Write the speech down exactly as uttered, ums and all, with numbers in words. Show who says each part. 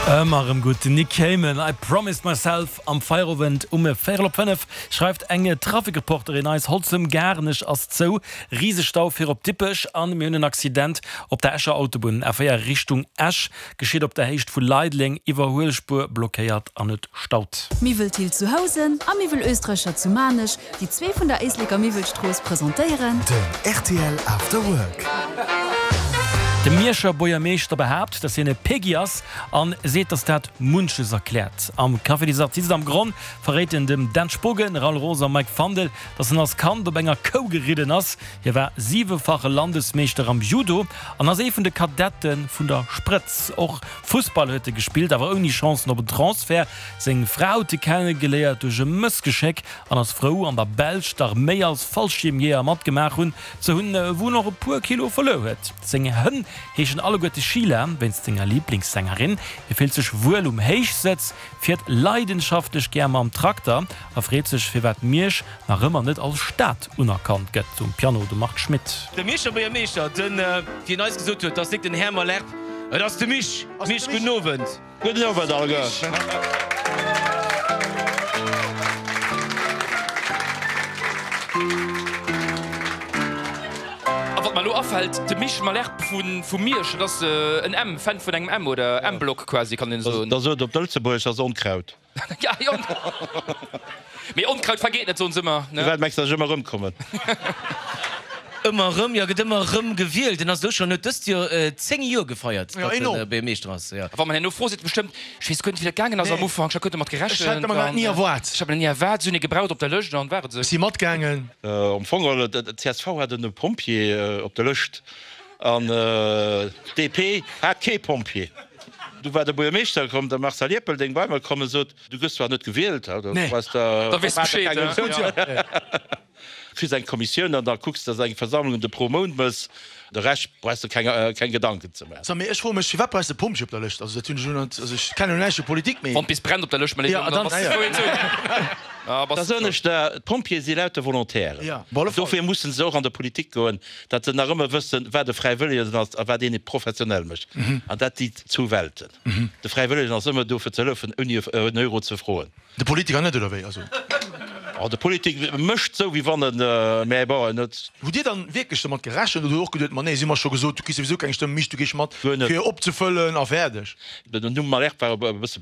Speaker 1: Ëmmer erëm gutt, den Nick Cayman, I Promised Myself. Am Feierowend um véierel op fënnef schreift eng Trafikreporterin eis, Holzem-Garnech ass zou, Risestau fir op Dippech an mir hunn en Accident op der Escher Autobunn, A véier Richtung Esch, geschitt op der Héicht vu Leideleng, Iwwerhuelspuer blockéiert an et staut.
Speaker 2: Miwwel Thill zu Housen a Miwwel Oestreicher zu Maarnech, déi zwee vun der Éisleker Miwwelstrooss presentéieren.
Speaker 3: Den rtl After Work.
Speaker 1: De Mierscher Buergermeeschter behaapt, dass hien e Peggy ass an seet, dass dat munches erkläert. Am Café des Artistes am Gronn verréit en dem Dan Spogen, Raoul Roos a Mike Fandel, dass en als Kand op enger Kou geridden ass. Hie war siwefache Landesmeeschter am Judo an ass ee vun de Kadette vun der Sprëtz. Och Fussball huet e gespillt, awer ouni Chancen op en Transfert. Seng Fra huet e kennegeléiert duerch e Mëssgeschéck an ass frou, an der Belsch d'Arméi als Fallschiermjeeër matgemaach hunn ze hunn, wou en och e puer Kilo verluer huet. Seng Hënn heeschen alleguerte Sheila, wéinst senger Liblingssängerin. Hie fillt sech wuel um Héichsëtz, fiert leidenschaftlech gär mam Trakter a freet sech, firwat Miersch nach ëmmer net als Stad unerkannt gëtt. Um Piano de Marc Schmitt.
Speaker 4: De Mierscher Buergermeeschter, den, wéi en eis gesot huet, 't ass nik den Här Malherbe, et ass de Misch. Misch, gudden Owend.
Speaker 5: Gudden Owend alleguer.
Speaker 6: A wat mer elo afält, de Misch Malherbe vu Miersch, dat ass en M, Fan vun engem M oder M-Block quasi, kann een soen.
Speaker 5: Da sot op Lëtzebuergesch, ass Onkraut.
Speaker 6: Mee Onkraut vergeet net, soen se ëmmer, ne?
Speaker 5: Firwat mengs de, datt ech ëmmer erëmkommen?
Speaker 4: Ëmmer erëm, jo, gëtt ëmmer erëm gewielt. En ass elo schonn, huet dëst Joer zéng Joer gefeiert, datt en Buergermeeschter ass, jo.
Speaker 6: A wa mer herno froe, seet e bestëmmt, Ech weess guer net, wéi dat gaangen ass am Ufank, ech hat guer net domat gerechent.
Speaker 7: Ech hat mer dat ni erwaart.
Speaker 6: Ech hat mer dat ni erwaart. Si hunn ee gebraucht op der Lëscht an war et esou.
Speaker 7: Ech si matgaangen.
Speaker 5: Am Fong geholl, d'CSV hat en Pompjee op der Lëscht an d'DP hat kee Pompjee. Du war de Buergermeeschter komm, de Marcel Ierpeldeng, bei mer komm a sot, Du gëss zwar net gewielt, da
Speaker 6: weess de Bescheed.
Speaker 5: Kriss eng Kommissioun an da kucks de, dass eng Versammlung de pro Mount mëss. De Rescht brauchs de keng keng Gedanken ze maachen.
Speaker 7: So, mee ech froe mech, firwat brauchs de Pompjee op der Lëscht? Also dat hunn ech elo net, also ech kennen elo näischt vu Politik, mee.
Speaker 6: Wann bis brennt op der Lëscht,
Speaker 7: Ja, dann, ja.
Speaker 5: Da soen ech der, d'Pompjeeë si lauter Volontairen. Dofir mussen se och an der Politik goen, datt se nach ëmmer wëssen, wat e Fräiwëllegen ass a wat een et professionell mécht. An dat si zwou Welten. De Fräiwëllegen ass ëmmer do fir ze hëllefen, ouni en Euro ze froen.
Speaker 7: De Politiker net, oder wéi? Also.
Speaker 5: Oh, de Politik mécht sou, wéi wann en, mä bon, en huet.
Speaker 7: Hutt Dir dann wierklech domat gerechent oder hutt Der och geduet, ma nee, si hu mer scho gesot, du kriss souwisou keng Stëmm, Misch, du gees mat,
Speaker 5: Guer net.
Speaker 7: fir opzefëllen a fäerdeg?
Speaker 5: Den Numm Malherbe war e bësse.